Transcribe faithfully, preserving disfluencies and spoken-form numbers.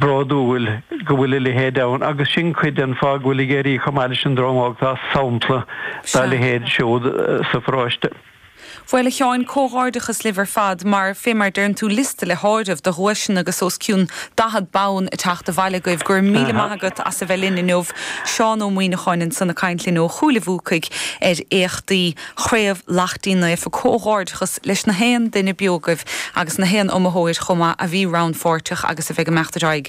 Bródúil go bhfuil a leithéid ann agus sin cuid den fáth go bhfuil ag éirí chomh maith leis an Drom Óg tá sampla dá leithéid siúd sa pharóiste. Bhuel a Sheáin comhghairdeachas libh ar fad mar fé mar deireann tú liosta le háireamh de dhuaiseanna agus os cionn daichead bonn ag teacht abhaile agaibh go raibh míle maith agat as a bheith linn inniu Seán Ó Muíneacháin ansan ag caint linn ó Chúil a' Bhuacaigh ar éachtaí Chraobh Laichtín Naofa comhghairdeachas leis na haon duine beo agaibh agus na haon iomaitheoir chomh maith a bhí rannpháirteach agus a bheidh ag imeacht ar aghaidh